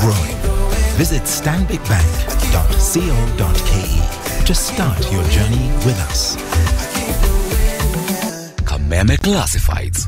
growing. Visit stanbicbank.co.ke to start your journey with us. Kameme Classifieds.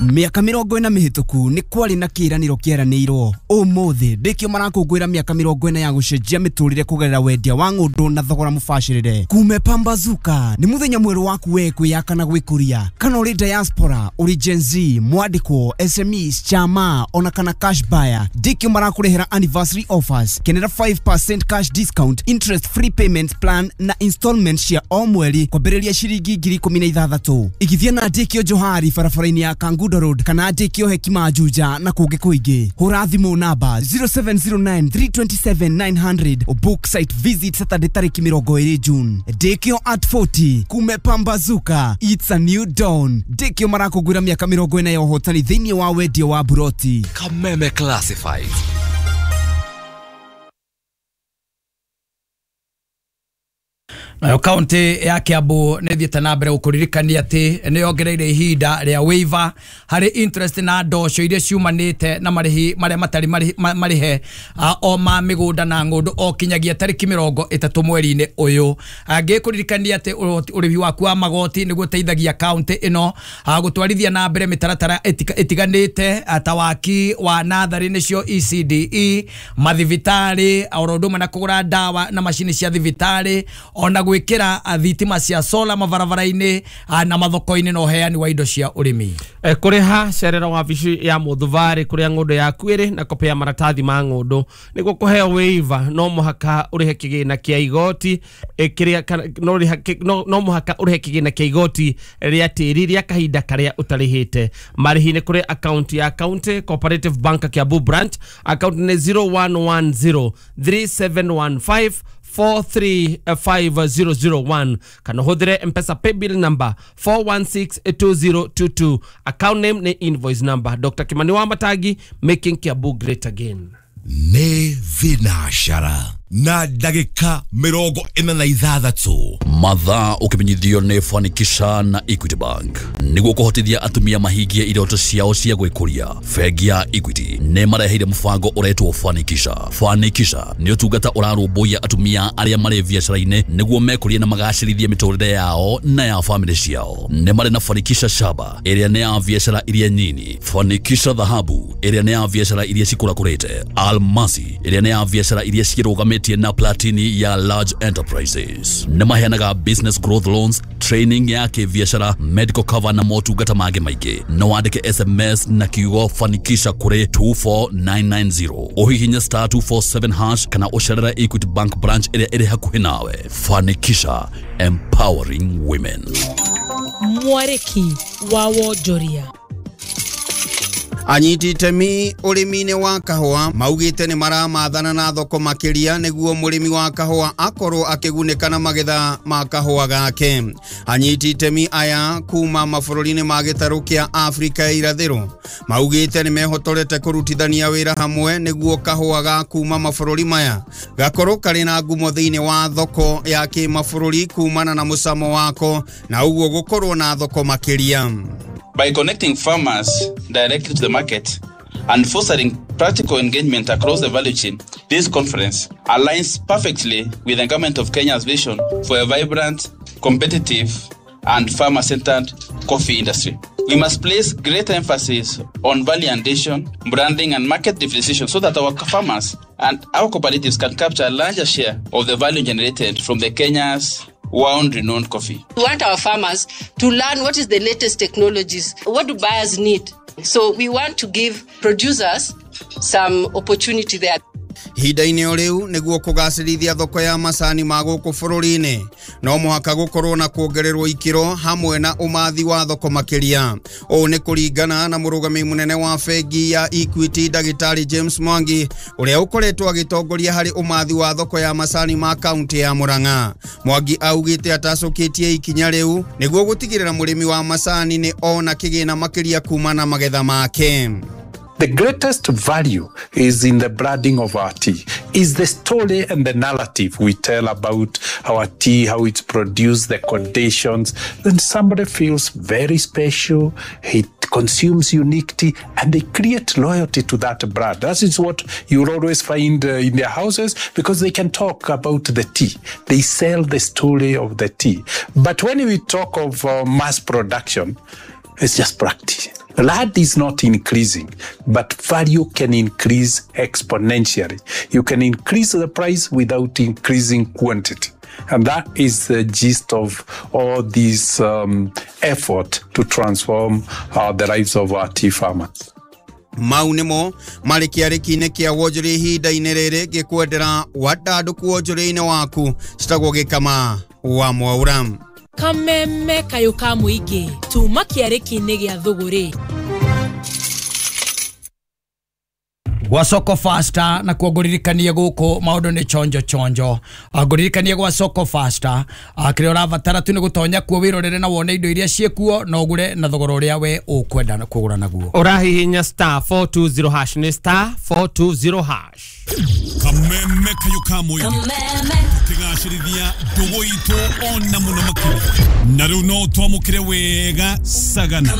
Mĩaka 40 mĩhĩtũku nĩ kwarĩ na kĩĩranĩro kĩeranĩirwo. Ũmũthĩ ndĩkĩo marakũngũĩra mĩaka 40 ya gũcenjia mĩtũrĩre kũgerera wendia wa ng'ũndũ na thogora mũbacĩrĩre. Kume Pambazuka nĩ mũthenya mwerũ waku we kwĩyaka na gwĩkũria. Kana ũrĩ diaspora, ũrĩ Gen Z, mwandĩkwo, SMEs, chama ona kana cash buyer, ndĩkĩo marakũrehera anniversary offers. Kenera 5% cash discount, interest free payment plan na installment cia o mweri kwambĩrĩria ciringi 16,000. Igithia na ndĩkĩo Johari barabara-inĩ ya Kangundo Road kana ndĩkĩo Hekima Juja na kũngĩ kũingĩ. Hũra thimũ namba 0709 327 900 book site visit Saturday tarĩki 20 June. Ndĩkĩo at 40 kume Pambazuka, it's a new dawn. Ndĩkĩo marakũngũĩra mĩaka 40 ya ũhotani thĩinĩ wa wendia wa buroti. Kameme Classifieds. Nayo kaunti ya Kiambu nĩ thiĩte na mbere gũkũririkania atĩ nĩ yongereire ihinda rĩa waiver harĩ interest na ndoco iria ciumanĩte na marĩhi marĩa matarĩ marĩhe o ma mĩgũnda na ng'ũndũ o kinyagia tarĩki 30 mweri-inĩ ũyũ. Ngĩkũririkania atĩ ũrĩhi waku wa magoti nĩguo ũteithagia kaunti ĩno gũtwarithia na mbere mĩtaratara ĩtiganĩte ta waki wa natharĩ nĩcio ECDE, mathibitarĩ oro ũndũ ũmwe na kũgũra ndawa na macini cia thibitarĩ ona gwikira thitima cia sola mabarabara-inĩ na mathoko-inĩ na ũheani wa indo cia ũrĩmi. Kũrĩha cerera wabici ya mũthubarĩ kũrĩa ng'ũndũ yaku ĩrĩ na kopĩ ya maratathi ma ng'ũndũ nĩguo kũheo waiver no mũhaka ũrĩhe kĩgĩna kĩa igoti kĩrĩa no mũhaka ũrĩhe kĩgĩna kĩa igoti rĩa tĩri rĩa kahinda karĩa ũtarĩhĩte. Marĩhi nĩ kũrĩ account ya County Cooperative Bank Kiambu branch, account nĩ 0110 3715 435001 kana hũthĩre Mpesa paybill number 4162022, account name ni invoice number. Dr. Kimani wa Matagi, making Kiambu great again. Nĩ thinashara na ndagĩka 46 mathaa ũkĩmenyithio nĩ Fanikisha na Equity Bank nĩguo kũhotithia atumia mahingie iroto ciao cia gwĩkũria. Bengi ya Equity nĩ mareheire mũbango ũretwo Fanikisha. Fanikisha nĩ ũtungata ũrarũmbũiya atumia arĩa marĩ biacara-inĩ nĩguo mekũrie na magacĩrithie mĩtũrĩre yao na ya famĩlĩ ciao. Nĩ marĩ na Fanikisha Shaba ĩrĩa nĩ ya biacara iria nyini, Fanikisha Dhahabu ĩrĩa nĩ ya biacara iria cikũrakũrĩte, Almasi ĩrĩa nĩ ya biacara iria cirũgamĩte na Platini ya large enterprises. Nĩ maheanaga business growth loans, training ya kĩbiacara, medical cover na motungata mangĩ maingĩ. No wandĩke SMS na kiugo Fanikisha kũrĩ 24990, ũhihinye star 247 hash kana ũcerere Equity Bank branch ĩrĩa ĩrĩ hakuhĩ nawe. Fanikisha, empowering women. Mwarĩki wa wonjoria. Anyiti itemi ũrĩmi-inĩ wa kahũa maugĩte nĩ maramathana na thoko makĩria nĩguo mũrĩmi wa kahũa akorwo akĩgunĩka na magetha ma kahũa gake. Anyiti itemi aya kuma mabũrũri-inĩ ma gĩtarũ kĩa Afrika ya irathĩro maugĩte nĩ mehotorete kũrutithania wĩra hamwe nĩguo kahũa ga kuma mabũrũri maya gakorwo karĩ na ngumo thĩinĩ wa thoko ya kĩmabũrũri kumana na mũcamo wako na ũguo gũkorwo na thoko makĩria. By connecting farmers directly to the market and fostering practical engagement across the value chain, this conference aligns perfectly with the government of Kenya's vision for a vibrant, competitive, and farmer-centered coffee industry. We must place greater emphasis on value addition, branding, and market differentiation so that our farmers and our cooperatives can capture a larger share of the value generated from the Kenya's world-renowned coffee. We want our farmers to learn what is the latest technologies, what do buyers need. So we want to give producers some opportunity there. Ihinda-inĩ o rĩu nĩguo kũgacĩrithia thoko ya macani ma gũkũ bũrũri-inĩ no mũhaka gũkorwo na kuongererwo ikĩro hamwe na ũmathi wa thoko makĩria. Ũũ nĩ kũringana na mũrũgamĩrĩri mũnene wa bengi ya Equity Ndagĩtarĩ James Mwangi ũrĩa ũkoretwo agĩtongoria harĩ ũmathi wa thoko ya macani ma kaunti ya Murang'a. Mwangi augĩte atacũkĩtie ikinya rĩu nĩguo gũtigĩrĩra mũrĩmi wa macani nĩ ona kĩgĩna makĩria kuma na magetha make. The greatest value is in the branding of our tea, is the story and the narrative we tell about our tea, how it's produced, the conditions. Then somebody feels very special. He It consumes unique tea, and they create loyalty to that brand. That is what you'll always find in their houses, because they can talk about the tea. They sell the story of the tea. But when we talk of mass production, it's just practice. Land is not increasing, but value can increase exponentially. You can increase the price without increasing quantity. And that is the gist of all this effort to transform the lives of our tea farmers. Mau nĩmo marĩ kĩarĩki-inĩ kĩa wonjoria ihinda-inĩ rĩrĩ ngĩkwendera wandandũku wonjoria-inĩ waku citagwo Gĩkama wa Mwaura. Kameme kayũ ka mũingĩ tuma kĩarĩki-inĩ gĩa thũgũrĩ. Gwa Soko Faster na kuo ngũririkanie gũkũ maũndũ nĩ chonjo chonjo. Ngũririkanie gwa Soko Faster kĩrĩa ũrabatara tu nĩ gũtonya kuo wĩrorere na wone indo iria ciĩkuo na ũgũre na thogora ũrĩa we ũkwenda kũgũra naguo. Ũrahihinya star 420 hash, nĩ star 420 hash. Kameme kayũ ka mũingĩ tũkĩgacĩrithia ndũgũ itũ ona mũno makĩria, na rĩu no twamũkĩre wega Sagana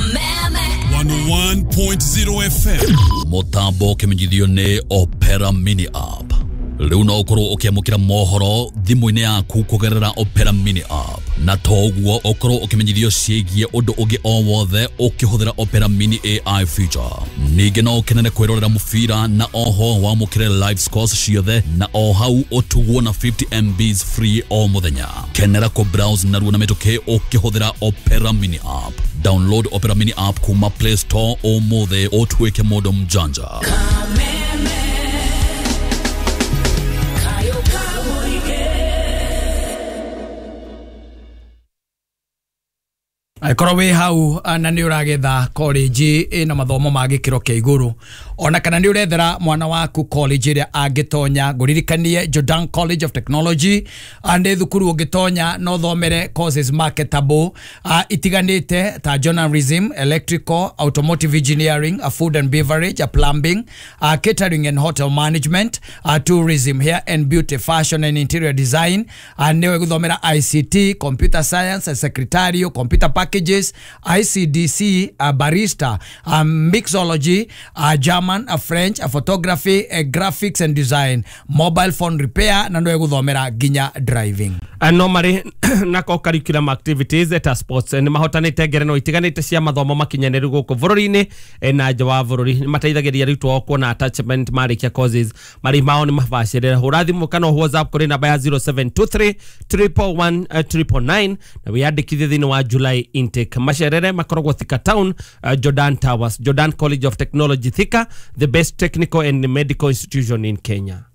101.0 FM. Mũtambo ũkĩmenyithio nĩ Opera Mini App. Rĩu no ũkorwo ũkĩamũkĩra mohoro thimũ-inĩ yaku kũgerera Opera Mini App, na to ũguo ũkorwo ũkĩmenyithio ciĩgiĩ ũndũ ũngĩ o wothe ũkĩhũthĩra Opera Mini AI feature. Ningĩ no ũkenere kwĩrorera mũbira na oho wamũkĩre live scores ciothe, na o hau ũtugwo na 50 MBs free o mũthenya. Kenera kũ browse narua na mĩtũkĩ ũkĩhũthĩra Opera Mini App. Download Opera Mini App kuma Play Store ũmũthĩ ũtuĩke mũndũ mjanja. Angĩkorwo wĩ hau na nĩ ũragetha college ĩna mathomo ma gĩkĩro kĩa igũrũ, ona kana nĩ ũrethera mwana waku college ĩrĩa angĩtonya, ngũririkanie Jordan College of Technology nĩ thukuru ũngĩtonya no ũthomere courses marketable itiganĩte ta journalism, electrical, automotive engineering, food and beverage, plumbing, catering and hotel management, tourism, hair and beauty, fashion and interior design. Nĩwe gũthomera ICT, computer science, secretarial, computer packages, ICDC, barista, mixology, German, French, photography, graphics and design, mobile phone repair, na nĩwe gũthomera nginya driving. No marĩ na co curriculum activities ta sports nĩ mahotanĩte ngerenwa itiganĩte cia mathomo makinyanĩru gũkũ bũrũri-inĩ na nja wa bũrũri. Nĩ mateithagĩrĩria arutwo ao kuona attachment marĩkia courses. Marĩhi mao nĩ mabacĩrĩre. Hũra thimũ kana WhatsApp kũrĩ namba ya 0723 111 999 na wĩyandĩkithie thĩinĩ wa July intake. Macerere makoragwo Thika Town, Jordan Towers, Jordan College of Technology Thika, the best technical and medical institution in Kenya.